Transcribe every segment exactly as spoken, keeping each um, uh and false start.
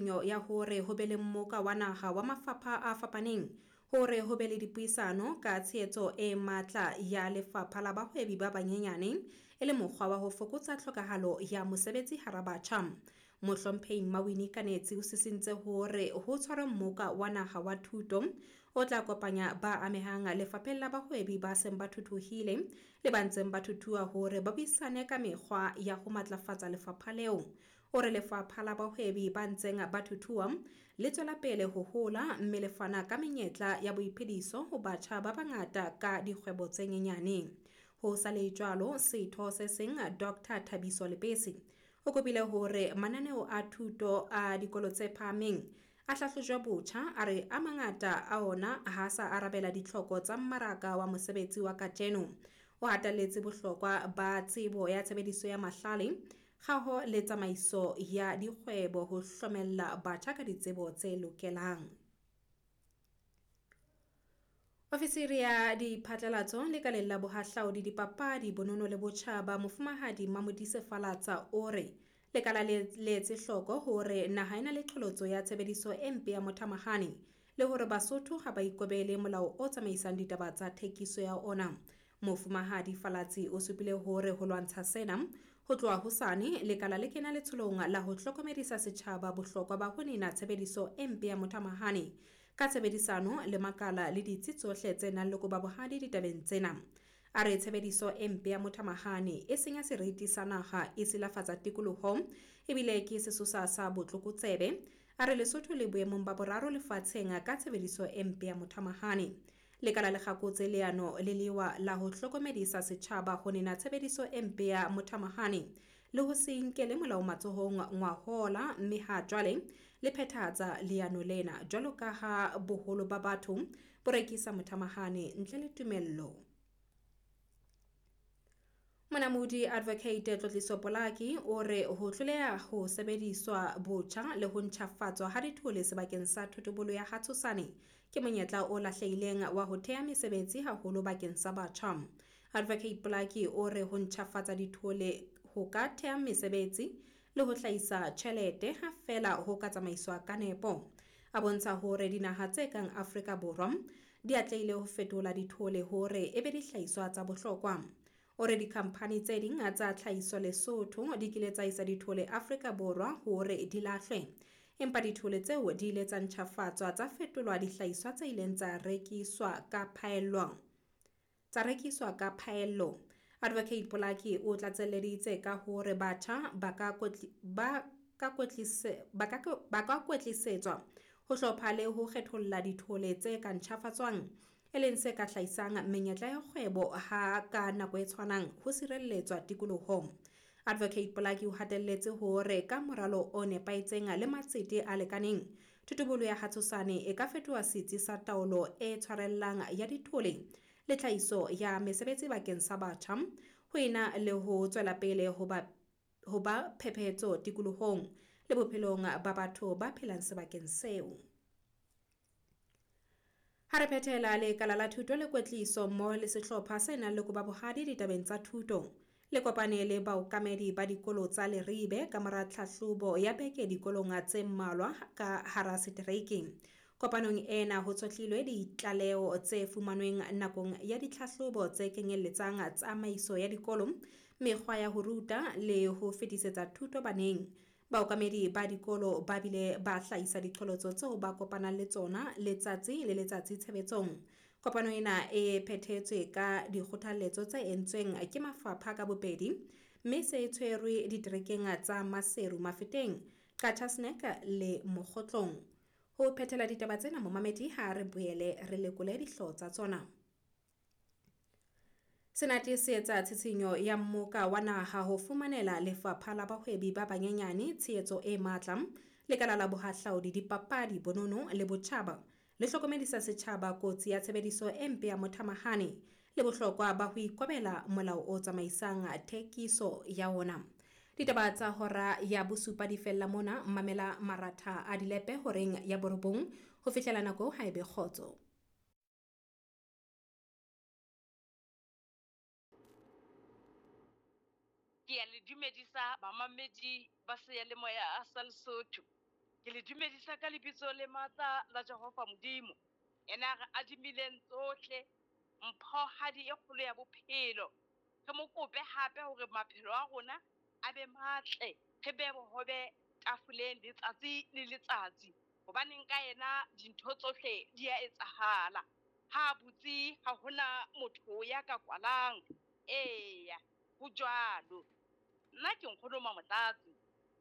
tshitshinyo ya hore ho be le mmoka wa naha wa mafapha a fapaneng hore ho be le dipuisano ka tshehetso e matla ya lefapha la bahwebi ba banyenyane e le mokgwa wa ho fokotsa tlhokahalo ya mosebetsi hara batjha. Mohlomphehi Mmawini Kanetsi o sisintse hore ho tshwarwe mmoka wa naha wa thuto o tla kopanya ba amehang lefapheng la bahwebi ba seng ba thuthuhile le ba ntseng ba thuthuha hore ba buisane ka mekgwa ya ho matlafatsa lefapha leo. O re lefapha la bahwebi ba ntseng ba thuthuha le tswela pele ho hola mme le fana ka menyetla ya boiphediso ho batjha ba bangata ka dikgwebo tse nyenyane. Ho sa le jwalo, setho se seng Doctor Thabiso Lebese o kopile hore mananeo a thuto a dikolo tse phahameng a hlahlojwe botjha, a re a mangata a ona ha sa arabela ditlhoko tsa mmaraka wa mosebetsi wa kajeno. O hatelletse bohlokwa ba tsebo ya tshebediso ya mahlale, kgaho le tsamaiso ya dikgwebo ho hlomella batjha ka ditsebo tse lokelang. Ofisiri ya diphatlalatso lekaleng la bohahlaudi, dipapadi, bonono le botjhaba, Mofumahadi Mamodise Falatsa o re lekala le letse hloko hore naha e na le qholotso ya tshebediso e mpe ya mothamahane le hore Basotho ha ba ikobele molao o tsamaisang ditaba tsa thekiso ya ona. Mofumahadi Falatsi o supile hore ho lwantsha sena ho tloha hosane lekala le kena letsholong la ho hlokomedisa setjhaba bohlokwa ba ho nena tshebediso e mpe ya mothamahane ka tshebedisano le makala le ditsi tsohle tse nang le koba bohadi ditabeng tsena. A re tshebediso e mpe ya mothamahane e senya seriti sa naha, e silafatsa tikoloho ebile ke sesosa sa botlokotsebe. A re Lesotho le boemong ba boraro lefatsheng ka tshebediso e mpe ya mothamahane. Lekala le kgakotse leano le lewa la ho hlokomedisa setjhaba ho nena tshebediso e mpe ya mothamahane le ho se nkele molao matsohong ngwahola, mme ha jwale le phethahatsa leano lena jwalo ka ha boholo ba batho bo rekisa mothamahane ntle le tumello. Monamodi Advocate Tlotliso Polaki o re ho hloleha ho sebediswa botjha le ho ntjhafatswa ha dithole sebakeng sa thotobolo ya Hatshosane ke monyetla o lahlehileng wa ho theha mesebetsi haholo bakeng sa batjha. Advocate Polaki o re ho ntjhafatsa dithole ho ka theha mesebetsi le ho hlahisa tjhelete ha feela ho ka tsamaiswa ka nepo. A bontsha hore dinaha tse kang Afrika Borwa di atlehile ho fetola dithole hore e be dihlahiswa tsa bohlokwa. O re dikhamphani tse ding tsa tlhahiso Lesotho di kile tsa isa dithole Afrika Borwa hore di lahlwe, empa dithole tseo di ile tsa ntjhafatswa tsa fetolwa dihlahiswa tse ileng tsa rekiswa ka phaello. Tsa rekiswa ka phaello. Advocate Polaki o tlatselleditse ka hore batjha ba ka kwetli, ba ka kwetlise, ba ka, ba ka kwetlisetswa ho hlopha le ho kgetholla dithole tse ka ntjhafatswang, e leng se ka hlahisang menyetla ya kgwebo ha ka nako e tshwanang ho sireletswa tikolohong. Advocate Polaki o hatelletse hore ka moralo o nepahetseng le matsete a lekaneng, thotobolo ya Hatshosane e ka fetoha setsi sa taolo e tshwarellang ya dithole le tlhahiso ya mesebetsi bakeng sa batjha, ho ena le ho tswela pele ho ba, ho ba phephetso tikolohong le bophelong ba batho ba phelang sebakeng seo. Ha re phethela lekala la thuto le kwetliso mmoho le sehlopha se nang le koba bohadi ditabeng tsa thuto le kopane le baokamedi ba dikolo tsa Leribe ka mora tlhahlobo ya beke dikolong tse mmalwa ka hara setereke. Kopanong ena ho tshohlilwe ditlaleho tse fumanweng nakong ya ditlhahlobo tse kenyelletsang tsamaiso ya dikolo, mekgwa ya ho ruta le ho fetisetsa thuto baneng. Baokamedi ba dikolo ba bile ba hlahisa diqholotso tseo ba kopanang le tsona letsatsi le letsatsi tshebetsong. Kopano ena e phethetswe ka dikgothaletso tse entsweng ke mafapha ka bobedi, mme se tshwerwe diterekeng tsa Maseru, Mafeteng, Qacha's Nek le Mokgotlong. Ho phethela ditaba tsena momamedi, ha re boele re lekole dihlooho tsa tsona. Senate se etsa tshitshinyo ya mmoka wa naha ho fumanela lefapha la bahwebi ba banyenyane tshehetso e matla, lekala la bohahlaudi, dipapadi, bonono le botjhaba le hlokomedisa setjhaba kotsi ya tshebediso e mpe ya mothamahane le bohlokwa ba ho ikobela molao o tsamaisang thekiso ya ona. Ditaba tsa hora ya bosupa di fella mona. Mamela maratha a dilepe horeng ya borobong ho fihlela nako ha ebe kgotso. Ke a le dumedisa bamamedi ba seyalemoya sa Lesotho. Ke le dumedisa ka lebitso le matla la Jehova Modimo. Yena re adimileng tsohle, mphohadi e kgolo ya bophelo. Re mo kope hape hore maphelo a rona a be matle, re be bohobe tafoleng letsatsi le letsatsi. Hobaneng ka yena dintho tsohle di a etsahala. Ha butse ha hona motho ya ka kwalang. Eya, ho jwalo. Nna ke nkgono Mamotlatsi,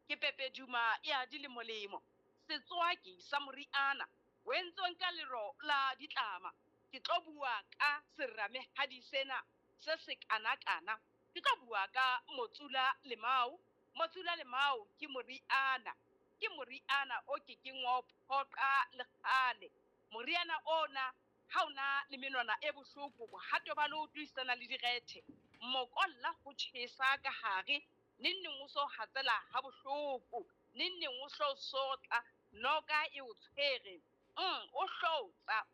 ke pepeduma ya dilemolemo, setswaki sa moriana o entsweng ka lero la ditlama. Ke tlo bua ka seramehadi sena se sekanakana. Ke tlo bua ka motsula lemao. Motsula lemao ke moriana, ke moriana o kekeng wa o phoqa le kgale. Moriana ona ha ona le menwana e bohloko, bohato ba leoto esitana le direthe, mokolla ho tjhesa ka hare, neng neng o so hatsela ha bohloko, neng neng o hlo sotla, noka e o tshwere, mm, o hlotsa.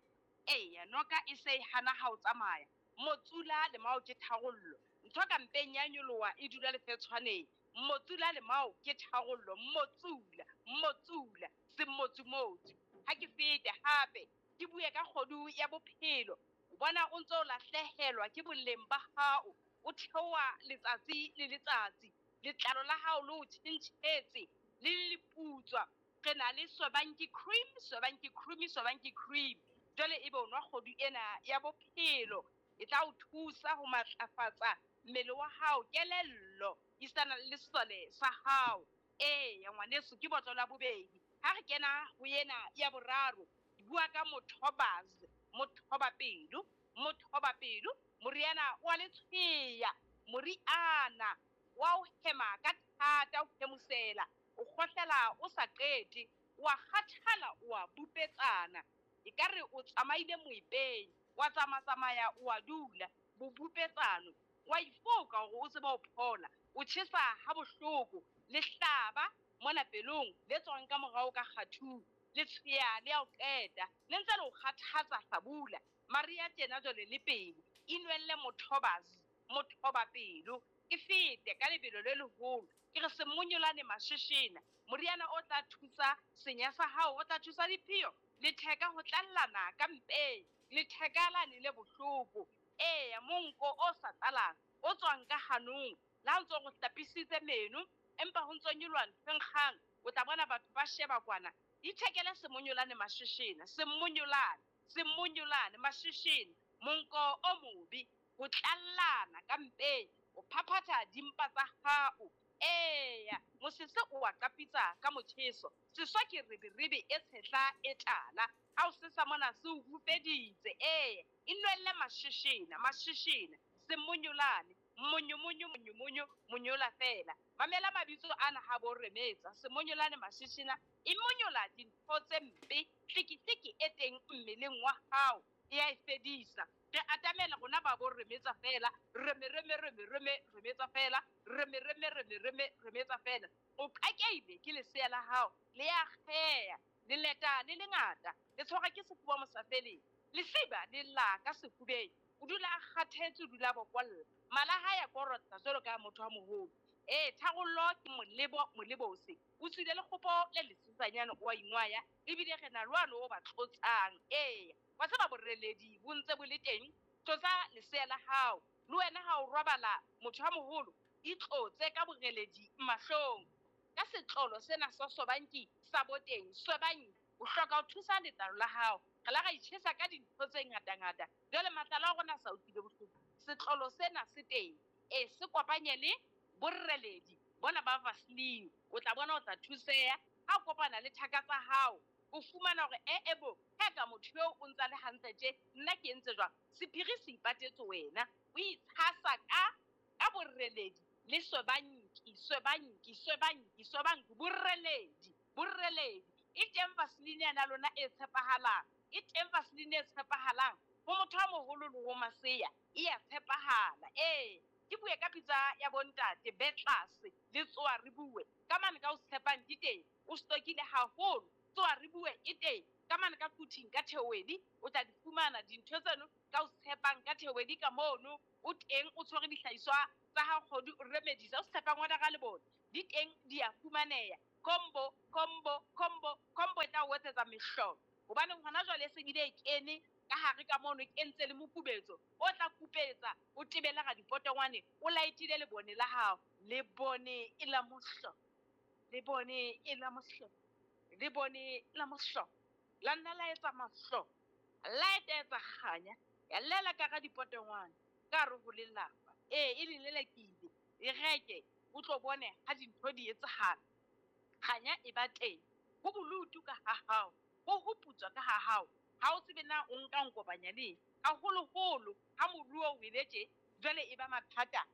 Eya, noka e se e hana ha o tsamaya. Motsula lemao ke tharollo. Ntho ka mpeng ya nyoloha e dula lefetshwaneng. Motsula lemao ke tharollo. Motsula, motsula, semotsumotsu. Ha ke fete hape ke bue ka kgodu ya bophelo. O bona o ntso lahlehelwa ke boleng ba hao, o theoha letsatsi le letsatsi. Letlalo la hao le o tjhentjhetse, le leputswa. Re na le Sobanki cream, Sobanki cream, Sobanki cream. Jwale ebe o nwa kgodu ena ya bophelo, e tla o thusa ho matlafatsa mmele wa hao, kelello, esitana le sesole sa hao. Eya ngwaneso, ke botlolo ya bobedi. Ha re kena ho ena ya boraro, ke bua ka mothobazi, mothobapelo, mothobapelo, moriana wa letshweya, moriana wa o hema ka thata, o hemosela, o kgohlela o sa qete, wa kgathala, wa bupetsana. Ekare o tsamaile moepeng, wa tsamatsamaya, wa dula, bobupetsano, wa ifoka hore o tsebe ho phola, o tjhesa ha bohloko, lehlaba mona pelong le tswang ka morao ka kgathung, letshweya le ya o qeta, le ntse le o kgathatsa hlabula. Maria tjena jwale le pele, inwelle mothobazi, mothobapelo. Ke fete ka lebelo le leholo, ke re semonyolane masheshena, moriana o tla thusa senya sa hao, o tla thusa diphio, letheka ho tlallana ka mpeng, letheka lane le bohloko. Eya, monko o sa tlalang o tswang ka hanong, le ha o ntso re hlapisitse meno, empa ho ntso nyoloha ntho e nkgang, o tla bona batho ba sheba kwana. Ithekele semonyolane masheshena, semonyolane, semonyolane masheshena, monko o mobe, ho tlallana ka mpeng, o phaphatha dimpa tsa hao. Eya, mosese o wa qapitsa ka motjheso, seswa ke rebirebe e tshehla e tala, ha o sesa mona se o hupeditse. Eya, e nwelle masheshena, masheshena, semonyolane, monyomonyo, monyomonyo, monyola fela. Mamela mabitso ana ha bo remetsa, semonyolane masheshena, e monyola dintho tse mpe, tlikitliki e teng mmeleng wa hao, e a e fedisa. Re atamela rona ba bo remetsa fela, reme reme reme reme remetsa fela, reme reme reme reme remetsa fela. O qakeile ke lesea la hao, le ya kgeya, le leta le lengata, le tshwarwa ke sefuba mosafeleng, lesiba le lla ka sefubeng, o dula a kgathetse, o dula a bokolla, mala ha ya korotla jwalo ka motho wa moholo. Ee, tharollo ke molebo, molebose. O tswile lekgopo le lesesanyane o a ingwaya, ebile re na le wane o ba tlotsang. Ee, wa tseba boreledi bo ntse bo le teng, tlotsa lesea la hao. Le wena ha o robala motho wa moholo, itlotse ka boreledi mahlong. Ka setlolo sena sa Sobanki sa boteng, Sobanki, o hloka ho thusa letlalo la hao. Re la ra itjhesa ka dintho tse ngatangata, jwale matlalo a rona a sa utlwile bohloko. Setlolo sena se teng, e se kopanye le boreledi bona ba Vaseline, o tla bona o tla thuseha. Ha o kopana le thaka tsa hao, o fumana hore e e bo, ha ka motho eo o ntsa le hantle tje, nna ke entse jwang? Sephiri se ipatetse wena, o itshasa ka, ka boreledi le Sobanki, Sobanki, Sobanki, Sobanki, boreledi, boreledi. E teng Vaseline yana lona e tshepahalang, e teng Vaseline e tshepahalang ho motho a moholo le ho masea, e ya tshepahala. Ee, ke bue ka pitsa ya bontate, be tlase le tsoa re bue ka mane ka o tshepang di teng, o stokile haholo, tsoa re bue e teng ka mane ka Quthing ka Theowedi, o tla di fumana dintho tseno ka o tshepang ka Theowedi ka mono, o teng o tshwere dihlahiswa tsa hao kgodu, o remedisa, o tshepang wa ra le bona di teng, di a fumaneha. Combo, combo, combo, combo e tla o etsetsa mehlolo. Hobane hona jwale e se bile e kene ka hare ka mono, e kentse le mokubetso o tla kupetsa, o tebele ga dipotongwane, o laetile lebone la hao. Lebone e la mohlolo, lebone e la mohlolo, lebone la mohlolo. La nna la etsa mahlo, la etsa kganya, ya llela ka ga dipotongwane, ka hare ho lelapa. Ee, e le lelekile, e reke, o tlo bone ha dintho di etsahala. Kganya e ba teng, ho bolutu ka ha hao, ho ho putswa ka ha hao. Ha o tsebe na o nka nkopanya le eng. Haholoholo ha moruo o ile tje, jwale e ba mathata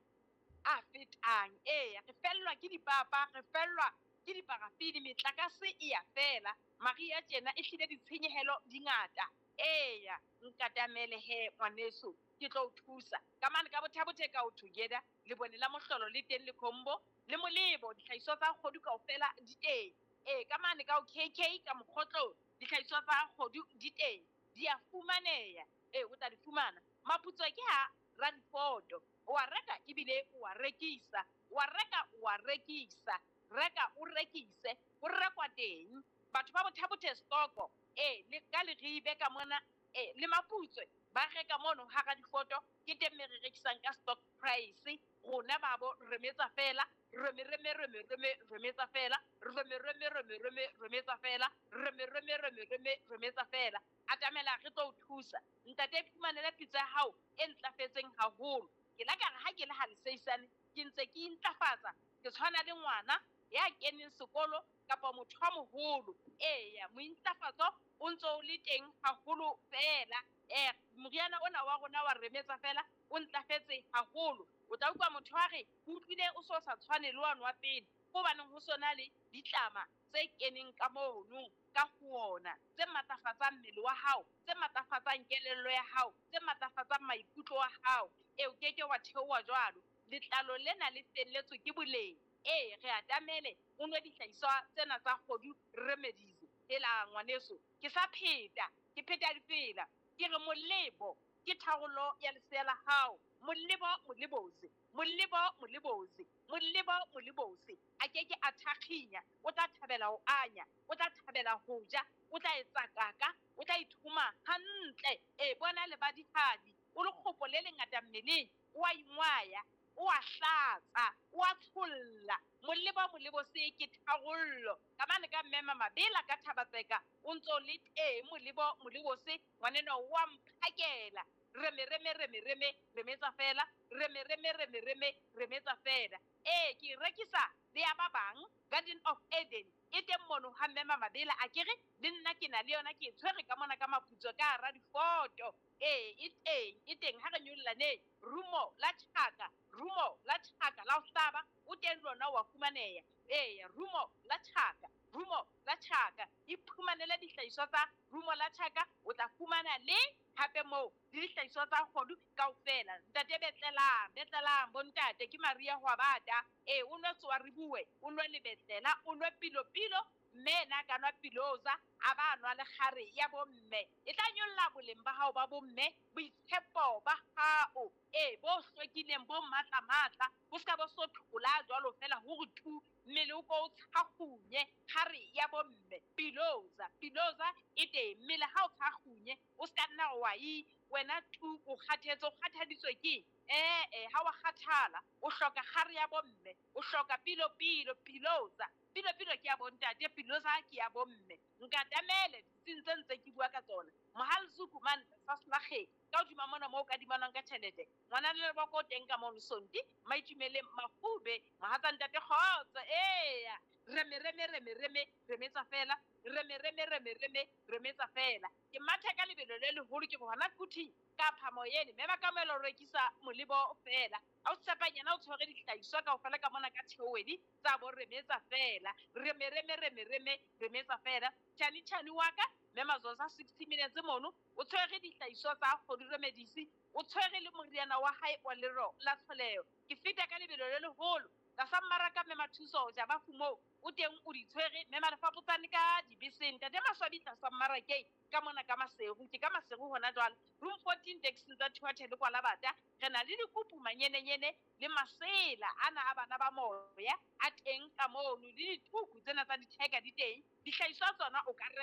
a fetang. Eya, re fellwa ke dipapa, re fellwa ke diparafini, metlakase e ya fela. Maria tjena e hlile ditshenyehelo di ngata. Eya, nkatamele he ngwaneso, ke tlo o thusa. Ka mane ka Botha-Bothe ka o together, lebone la mohlolo le teng le combo, le molebo, dihlahiswa tsa kgodu kaofela di teng. Ee, ka mane ka o K K ka mokgotlong, dihlahiswa tsa kgodu di teng, di a fumaneha. Ee, o tla di fumana. Maputso ke ha Radifoto, o a reka ebile o a rekisa, o a reka o a rekisa, reka o rekise, ho rekwa teng. Batho ba Botha-Bothe stoko, ee, le ka Leribe ka mona, ee, le Maputswe ba reka mono ha Radifoto, ke teng me re rekisang ka stock price. Rona ba bo remetsa fela, reme reme reme reme remetsa fela, reme reme reme reme remetsa fela, reme reme reme reme remetsa fela. Atamela re tlo o thusa. Ntate, iphumanele pitsa ya hao e ntlafetseng haholo. Ke la ka re ha ke le ha leseisane, ke ntse ke intlafatsa, ke tshwana le ngwana ya keneng sekolo kapa motho a moholo. Eya, mointlafatso o ntso o le teng haholo fela. Eh, moriana ona wa rona wa remetsa fela o ntlafetse haholo. O tla utlwa motho a re, o utlwile o so sa tshwane le wane wa pele, hobaneng ho sona le ditlama tse keneng ka mono ka ho ona, tse matlafatsang mmele wa hao, tse matlafatsang kelello ya hao, tse matlafatsang maikutlo a hao. Ee, o keke wa theoha jwalo. Letlalo lena le felletswe ke boleng. Ee, re atamele o nwe dihlahiswa tsena tsa kgodu remedies. Hela ngwaneso, ke sa pheta, ke pheta difela. Ke re molebo ke tharollo ya lesea la hao. Molebo molebose, molebo molebose, molebo molebose. A keke a thakginya, o tla thabela ho anya, o tla thabela ho ja, o tla etsa kaka, o tla ithuma hantle. Ee, bona le badihadi, o le kgopo le lengata mmeleng, o a ingwaya, o a hlatsa, o a tsholla. Molebo molebose ke tharollo. Ka mane ka mmema Mabela ka Thabatseka, o ntso le teng molebo molebose, ngwaneno wa mphakela. Reme reme reme reme remetsa fela, reme reme reme reme remetsa fela. Ee, ke rekisa le ya ba bang Garden of Eden e teng mono ha mmema Mabela, a kere le nna ke na le yona, ke e tshwere ka mona ka maputso ka hara difoto. Ee, e teng, e teng ha re nyollaneng. Rumo la tjhaka, rumo la tjhaka la ho hlaba, o teng lona wa fumaneha. Ee, rumo la tjhaka, rumo la tjhaka. Iphumanele dihlahiswa tsa rumo la tjhaka, o tla fumana le hape moo le dihlahiswa tsa kgodu kaofela. Ntate betlelang, betlelang bontate, ke Maria Hwabata. Ee, o nwe tsoa re bue, o nwe lebetlela, o nwe pilo-pilo, mme ena a ka nwa piloza, a ba nwa le kgare ya bomme. E tla nyolla boleng ba hao ba bomme, boitshepo ba hao, ee, bo hlwekileng, bo matla-matla, bo ska bo so thola jwalo fela hore tu, mmele o ko o tshakgunye. Kgare ya bomme, piloza, piloza e teng. Mmele ha o tshakgunye, o ska nna wa e, wena tu, o kgathetse, o kgathaditswe ke eng? Eh, eh, ha wa kgathala, o hloka kgare ya bomme, o hloka pilo-pilo, piloza. Pilo-pilo ke ya bontate, piloza ke ya bomme. Nkatamele ditsing tse ntse ke bua ka tsona. Mohal Zuku mane sa Slageng, ka hodima mona moo o kadimanwang ka tjhelete. Ngwana le leboko o teng ka mono Sonti, Maitumeleng Mafube, mohatsa ntate kgotso. Eya, reme reme reme reme remetsa fela, reme reme reme reme remetsa fela. Ke matha ka lebelo le leholo ke hona kuthing ka phamoyene, mme ba kamohelo ho rekisa molebo fela. Ha o tshepanyana o tshwere dihlahiswa kaofela ka mona ka theowedi tsa bo remetsa fela. Reme reme reme reme remetsa fela. Tjhani tjhani wa ka, mme Mazoza sixty minutes mono, o tshwere dihlahiswa tsa kgodu remedies, o tshwere le moriana wa hae wa lero la tlholeho. Ke feta ka lebelo le leholo tlasa mmaraka mme Mathuso ja ba fumo O teng o di tshwere mme Malefapotsane ka dibeseng. Ntate Maswabi tlasa mmarakeng ka mona ka Maseru, ke ka Maseru hona jwale. Room fourteen taxing tsa Thuathele kwa Labata. Re na le dikupu manyenenyene le masela ana a bana ba moya a teng ka mono, le dituku tsena tsa ditheka di teng. Dihlahiswa tsona o ka reka